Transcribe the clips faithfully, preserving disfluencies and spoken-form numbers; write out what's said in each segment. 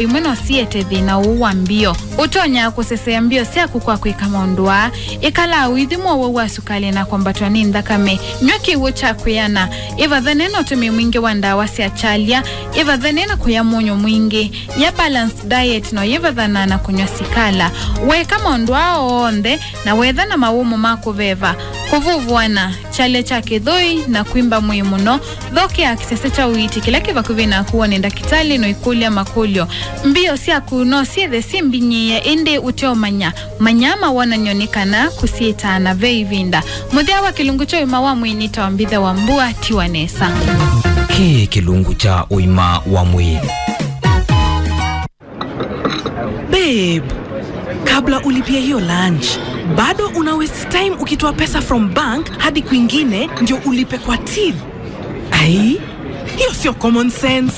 imwe no siete thĩna ũũ wa mbio. Ũtonya kũsesea mbio syaku kwa kwĩka maũndũ aa. Ĩkala ũithi mũowau wa sukalĩ na kwambatwa nĩ nthakame. Nyw'a kĩw'ũ kya kwĩana. Ĩvathane na ũtũmĩi mwingĩ wa ndawa sya kyalya. Ĩvathane na kũya mũnyũ mwingĩ. Ya balanced diet no yĩvathana na kũnyw'a sikala. Weeka maũndũ aa onthe, na wetha na mawũmũ ma kũveva, kũvũvũana, kyalya kya kĩthũi, na kwimba mwĩĩ mũno, thokea kĩsese kya ũiiti kĩla kĩ vakuvĩ naku wone ndakĩtalĩ na ũikũlya makũlyo. Mbio syaku no syĩthe syĩ mbinyĩĩe, ĩndĩ ũteũmanya. Manya mawonany'o nĩ kana kũsiĩtaana ve ĩvinda. Mũthya wa kĩlungu kya ũima wa mwĩĩ nĩ ta mbithe wa mbua, tiwa nesa. Kĩĩ kĩlungu kya ũima wa mwĩĩ. Babe, kabla ulipie hiyo lunch, bado una waste time ukitoa pesa from bank hadi kwingine ndio ulipe kwa till. Ai, hiyo sio common sense.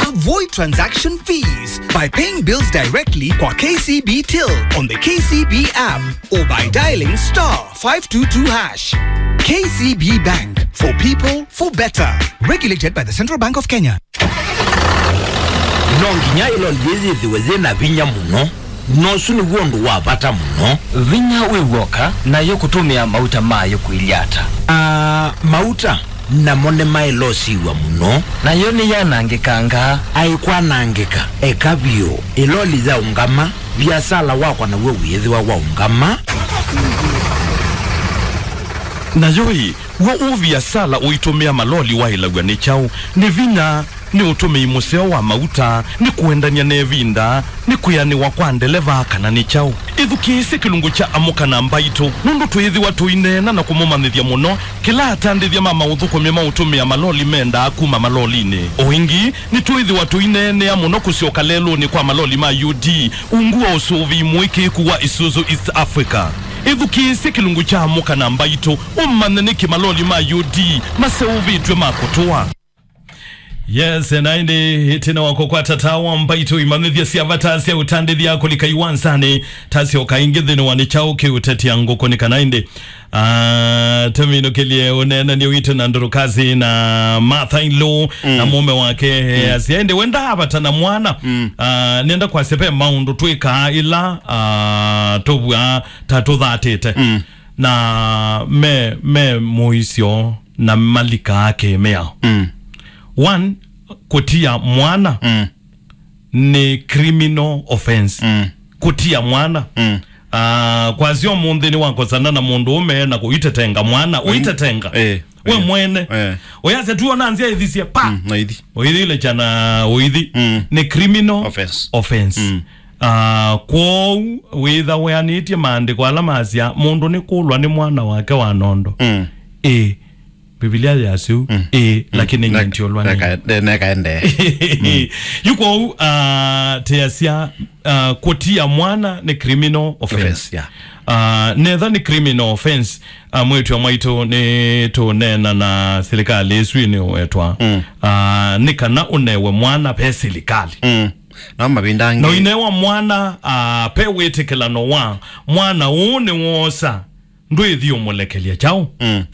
Avoid transaction fees by paying bills directly kwa K C B Till on the K C B app or by dialing star five two two hash. K C B Bank, for people, for better. Regulated by the Central Bank of Kenya. No nginya ĩloli yĩĩ yĩthĩwe yĩ na vinya mũno, na ũsu nĩw'o ũndũ wa vata mũno. Vinya wĩ w'oka, nayo kũtũmĩa mauta mayo kũilyĩ ata? Aa, mauta namo nĩmaĩlosiw'a mũno. Nayo nĩyanangĩkangaa. Aikwanangĩka, eka vyũ. Ĩloli yaũngama, viasala wakwa naw'o wĩĩthĩwa waũngama. Nayo ĩ, w'o ũũ viasala ũitũmĩa maloli waĩlaw'a nĩ kyaũ? Nĩ vinya, nĩ ũtũmĩi mũseo wa mauta, nĩ kũendany'a na ĩvinda, nĩ kwĩanĩwa kwa ndeleva, kana nĩ kyaũ? Ĩthukĩĩsye kĩlungu kya Amũka na Mbaitũ, nũndũ twĩĩthĩwa tũineena na kũmũmanyĩthya mũno kĩla atandĩthya ma maũthũkũmi ma ũtũmĩa maloli mendaa kuma malolinĩ. O ĩngĩ, nĩtwĩĩthĩwa tũineenea mũno kũsyoka lelũnĩ kwa maloli ma U D, ungu wa ũsũvĩi mũĩkĩĩku wa Isuzu East Africa. Ĩthukĩĩsye kĩlungu kya Amũka na Mbaitũ, ũmanye nĩkĩ maloli ma U D maseũvĩtw'e ma kũtũa. Yes, na ĩndĩ ĩtina wa kũkwata tawa, mbaitũ imanyĩthya sya vata sya ũtandĩthya kũlika iwanzanĩ, tasyoka ĩngĩ nthĩnĩ wa nĩ kyaũ kĩũtetea ngũkũ nĩ kana ĩndĩ. Ah, tũminũkĩlye ũneenany'a witũ na Ndũrũkasi na Martha in law na mũũme wake, eh, asya ĩndĩ we ndaavata na mwana. Ah, nenda kwasya ve maũndũ twĩkaa ĩla, ah, tũvw'aa ta tũthatĩte. Na me, me mũisyo na malikaa kĩmĩao. One, kũtia mwana nĩ criminal offense. Kũtia mwana. Ah, kwasya ũmũnthĩ nĩwakosana na mũndũ ũme na kũitetenga mwana, ũitetenga. Eh, we mwene. Eh. Ũyasya tu ona nzĩa ĩthisye, pa! Mm, na ithi. Ũithile kyana ũithi. Nĩ criminal offense. Ah, kwoou wĩtha weanĩtye maandĩko ala masya mũndũ nĩ kũlwa nĩ mwana wake wa nondo. Ĩĩ. Mbivilia yasya ũu, ĩĩ, lakini nyie ndiũlwa nĩ. Neka-, neka-, nekaende. Yu kwoou, ah, teasya, ah, kũtia mwana nĩ criminal offense. Offense, yeah. Ah, netha nĩ criminal offense, ah, mwĩĩtu wa mwaitũ nĩ tũneena na silikalĩ ĩsu ĩnĩwetwa. Ah, nĩ kana ũnewe mwana ve silikalĩ. No mavinda angĩ. Na ũinewa mwana, ah, ve wĩtĩkĩlano wa mwana ũũ nĩwoosa. Ndwĩthi ũmũlekelya kyaũ?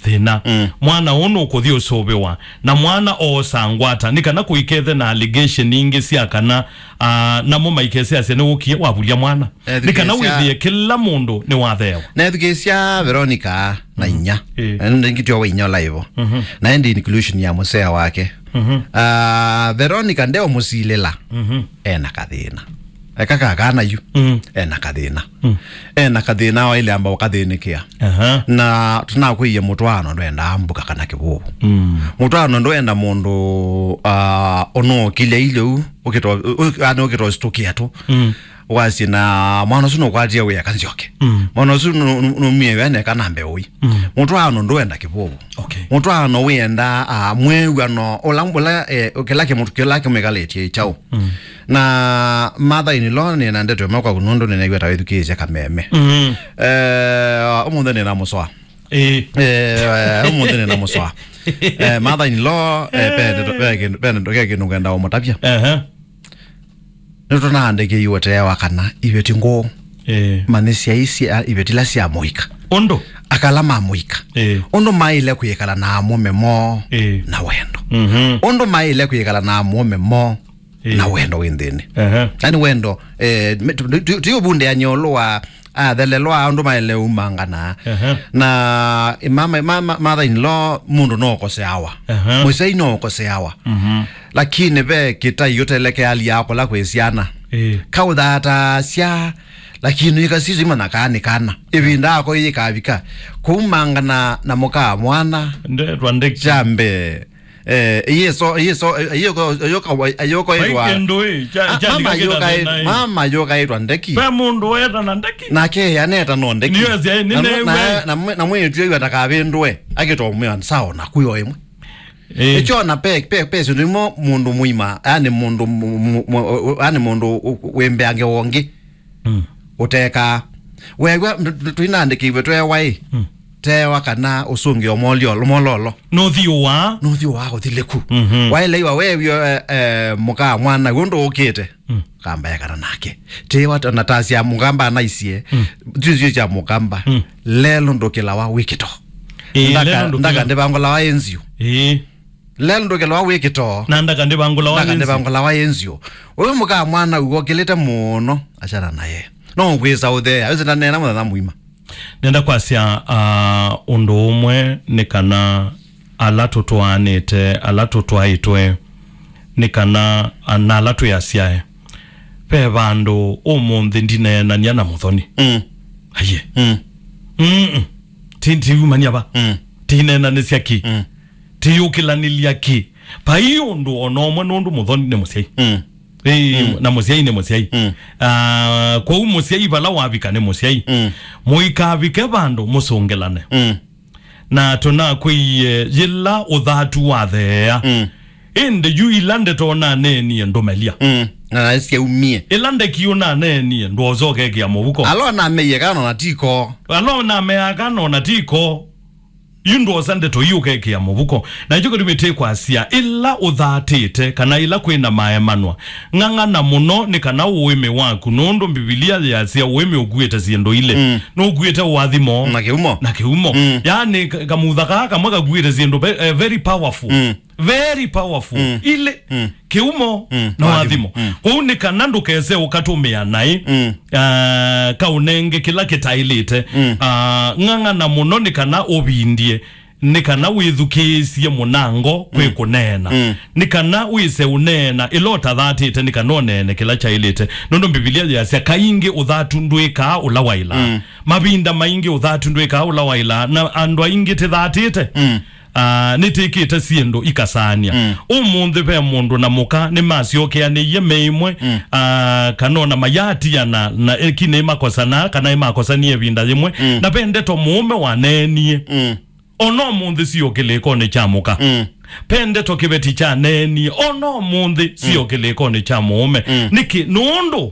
Thĩna. Mwana ũũ nũkũthi ũsũvĩwa, na mwana oosa ngwata, nĩ kana kũikethe na allegation ingĩ sya kana, ah, namo maikesĩ asya nĩwũkie wavulya mwana. Nĩ kana wĩthĩe kĩla mũndũ nĩwatheewa. Nethukĩĩsya Veronica na inya. Ĩĩ. Na nĩndĩ ngĩtw'a wa inya ũla ĩvo. Na ĩndĩ inclusion ya mũsea wake. Ah, Veronica ndeũmũsilĩla. Ena kathĩna. Eka kakana yu. Ena kathĩna. Ena kathĩna waĩle amba ũkathĩnĩkĩa. Aha. Na tũnakwĩie mũtwaano ndwendaa mbuka kana kĩvũvũ. Mũtwaano ndwenda mũndũ, ah, ũnũkĩlya ilĩ u, ũkĩto-, ũ-, ũ-, yani ũkĩtositũkĩa tu. Wasye na mwana ũsu nũkwatie wĩa kanzyoke. Mwana ũsu nũ-, nũ-, nũmie wĩa neka na mbeũ ii. Mũtwaano ndwenda kĩvũvũ. Okay. Mũtwaano wĩenda, ah, mwĩw'ano ũla, ũla, eh, kĩla kĩmũtu kĩla kĩmwĩkalĩtye kyaũ. Na mother in law nĩ na ndeto ĩmwe kwaku nũndũ nĩnaigua ta wĩthukĩĩsye kameme. Eh, ũmũnthĩ nĩ na mũsoa. Ĩĩ. Eh, ũmũnthĩ nĩ na mũsoa. Eh, mother in law, eh, pe ndeto, pe kĩndũ, pe ndeto, ke kĩndũ ngenda ũmũtavya. Aha. Nĩtũnaandĩkĩiwe tee wa kana iveti ngũũ. Ĩĩ. Manyĩsya isi, a, iveti ila sya mũika. Ũndũ? Aka ala ma mũika. Ĩĩ. Ũndũ maĩle kwĩkala na amũme moo na wendo. Ũndũ maĩle kwĩkala na amũme moo Ĩĩ. Na wendo wĩ nthĩnĩ. Ehe. Yani wendo, eh, me- tu- tu- tu- tũyũvundĩany'a ĩũlũ wa athelelwa andũ maĩle umangana. Ehe. Na mama, mama, mother in law, mũndũ no ũkoseawa. Ehe. Mũsyai no ũkoseawa. Mhm. Lakini ve kĩtai ũtelekealya kũla kwĩ syana. Ĩĩ. Kaũthataasya, lakini ikasisima na kana nĩ kana. Ĩvinda yako yĩkavika. Kũumangana na mũka mwana. Ndetwa ndeki. Kya mbee. Eh, iyeso iyeso ayokaitwa. Mama yokaitwa ndeki. Pe mũndũ weta na ndeki. Nake aneta no ndeki. Nĩyo ĩsya, na nĩnewe. Na mwĩĩtu ĩw'a ndakavĩndũe akĩtomwĩa sawa na kuyo ĩmwe. Eh. Ĩkyo na pe pe pe syĩndũ imwe mũndũ mũima, yani mũndũ mu- mu- mu- yani mũndũ wĩmbeange wongi. Mm. Ũtekaa. Weew'a tũinandĩkĩiwe twewa ĩ. Mm. Tewa kana ũsũngĩo molio mololo. Nũthiũwa. Nũthiũwa ũthilĩku. Mhm. Waĩleiwa wew'o eh, eh, mũka mwana ũndũ ũkĩte. Mm. Kamba ekana nake. Tewa na tasya mũkamba anaisie. Mm. Tizio sya mũkamba. Mm. Lelo ndũkĩlawa wĩkĩto. Ĩĩ, ndaka lelo ndũkĩlawa. Ndaka ndĩvangũlawa ĩnziũ. Ĩĩ. Lelo ndũkĩlawa wĩkĩto. Na ndaka ndĩvangũlawa. Ndaka ndĩvangũlawa ĩnziũ. Ũyũ mũka mwana ũwokĩlĩte mũno, achana naye. No kwĩsa ũthea, ũsĩ ndanena mũthenya mũima. Nenda kwasya uh, ũndũ ũmwe nĩ kana ala tũtwaanĩte, ala tũtwaĩtwe, nĩ kana uh, na ala twĩ asyae. Ve vandũ ũmũnthĩ ndineenania na mũthoni. Mm. Aiye. Mm. Mm-mm. Ti- tiumania va. Mm. Tineenanĩsya ki. Mm. Tiyũkĩlanĩlya ki. Vai ũndũ o na ũmwe nũndũ mũthoni nĩ mũsyai. Mm. Ĩĩ, mm, na mũsyai nĩ mũsyai. Mm. Ah, kwoou mũsyai vala wavika nĩ mũsyai. Mm. Mũikavike vandũ mũsũngĩlane. Mm. Na tũnakwĩie yĩla ũthatu watheea. Mm. Ĩndĩ yu ila ndeto naneenie ndũmelia. Mm. Na syaumie. Ĩla ndeki ũnaneenie ndwosa ũkekĩa mũvuko. Alo nameie kana ona tiko. Alo nameaa kana ona tiko. Yu ndwosa ndeto ii ũkekĩa mũvuko. Na nĩkyo kĩtumi tĩkwasya, ĩla ũthatĩte, kana ĩla kwĩ na maemanwa, ng'ang'ana mũno nĩ kana ũĩmĩ waku, nũndũ Mbivilia yĩasya ũĩmĩ ũkuĩte syĩndũ ilĩ. Mm. Nũkuĩte ũathimo. Na kĩumo. Na kĩumo. Mm. Yaani, ka- kamutha kaa kamwe kakuĩte syĩndũ ve- eh, very powerful. Mm. Very powerful. Mm. Ilĩ. Mm. Kĩumo, mm, na ũathimo. Mm. Kwoou nĩ kana ndũkese ũkatũmĩa naĩ, mm, ah, kaũnenge kĩla kĩtaĩlĩte. Mm. Ah, ng'ang'ana mũno nĩ kana ũvindye, nĩ kana wĩthukĩĩsye mũnango kwĩ, mm, kũneena. Mm. Nĩ kana wĩse ũneena ĩla ũtathatĩte, nĩ kana ũneene kĩla kyaĩlĩte. Nũndũ Mbivilia yĩasya, kaingĩ ũthatu ndwĩkaa ũla waĩlaa. Mm. Mavinda maingĩ ũthatu ndwĩkaa ũla waĩlaa, na andũ aingĩ tĩthatĩte. Mm. Ah, nĩtĩkĩte syĩndũ ikasaanĩa. Mm. Ũmũnthĩ ve mũndũ na mũka nĩmasyokeanĩie me ĩmwe, mm, ah, kana ona mayatiana na eki nĩmakosanaa kana nĩmakosanie ĩvinda yĩmwe. Mm. Na ve ndeto mũũme waneenie. Mm. Ona ũmũnthĩ sio kĩlĩkonĩ kya mũka. Mm. Ve ndeto kĩveti kyaneenie. Ona ũmũnthĩ sio, mm, kĩlĩkonĩ kya mũũme. Mm. Nĩkĩ? Nũndũ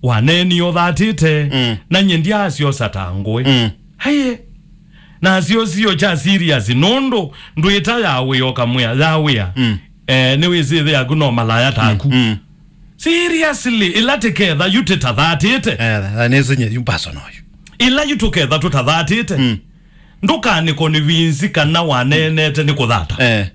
waneenie ũthatĩte, mm, na nyie ndyaasyosa ta ngũĩ. Mm. Aiye. Nasyo sio kya serious, nũndũ ndwĩta ya wĩa ũkamwĩa, ya wĩa. Mm. Eh, nĩwĩsĩ ĩthe yaku no malaya taku. Mm. Mm. Seriously, ĩla tĩketha yu tĩtathatĩte. Eh, nĩsĩ nyie yu personal yu. Ĩla yu tũketha tũtathatĩte. Mm. Ndũkanĩkonvinsi kana waneenete nĩ kũthata. Eh.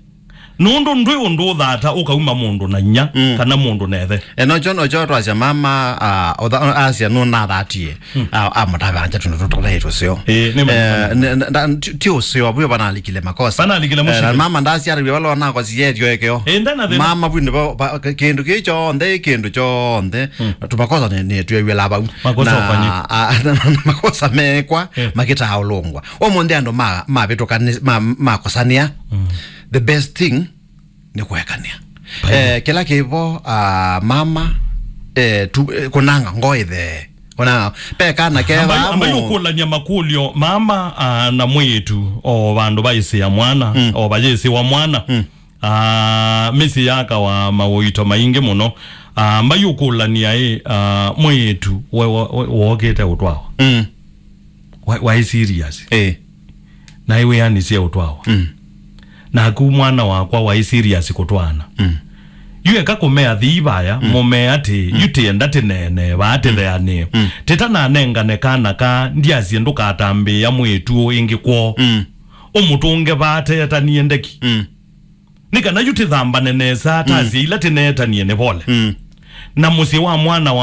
Nũndũ ndwĩ ũndũ ũthata ũkauma mũndũ na inya, mm, kana mũndũ na ĩthe. E, nocho, nocho twasya mama, ah, ũtha- asya nũnathatie, mm, ah, amũtavanja tũndũ tũtũthaĩ tũseo. Ĩĩ, nĩ ma- Eh, ne- ne- nda- ti- ti ũseo, vwĩ vanalikile makosa. Vanalikile. Eh, mũsyĩ. Na mama ndasyarĩw'e vala wanakosie ĩtyo ĩkeo. Ĩĩ, ndana thĩna. Mama vwĩ nĩvo va- kĩndũ kĩĩ kyonthe, kĩndũ kyonthe, mm, tũmakosa nĩ- nĩ twĩw'ĩla vau. Makosa na, ũfanyĩtwe. Ah, na- na- na makosa mekwa, eh, makĩtaa ũlũngwa. Ũmũnthĩ andũ ma- mavĩtũkanĩ- ma- makosanĩa, mm, the best thing nĩ kũekanĩa. Pai. Eh, kĩla kĩvo, ah, mama, eh, tu- eh, kũnanga ngoo ĩthee. Kũnanga. Pe kana keva ambai, ambai mo- ũkũlany'a makũlyo mama, ah, na mwĩĩtu o vandũ vaĩsĩa mwana, mm, o vayĩsĩwa mwana. Mm. Ah, mĩsyĩ yakawa maũito maingĩ mũno. Ah, mbai ũkũlany'a ĩ, ah, mwĩĩtu we- we- we- wookĩte ũtwawa. Mm. Wa- waĩ serious. Eh. Na ĩwĩanĩsye ũtwawa. Mm. Naku mwana wakwa waĩ serious kũtwaana. Mm. Yu eka kũmea thii vaya, mm, mũmee atĩ, mm, yu tĩenda tĩneenee vaa, mm, tĩtheanĩe. Mm. Tĩtananengane kana ka, ndyasye ndũkatambĩĩa mwĩĩtu ũũ ĩngĩ kwoo. Mm. Ũmũtũnge vaa teetanie ndeki. Mm. Nĩ kana yu tĩthambane nesa, mm, tasya ila tĩneetanie nĩ vole. Mm. na mũsyĩ wa mwana wa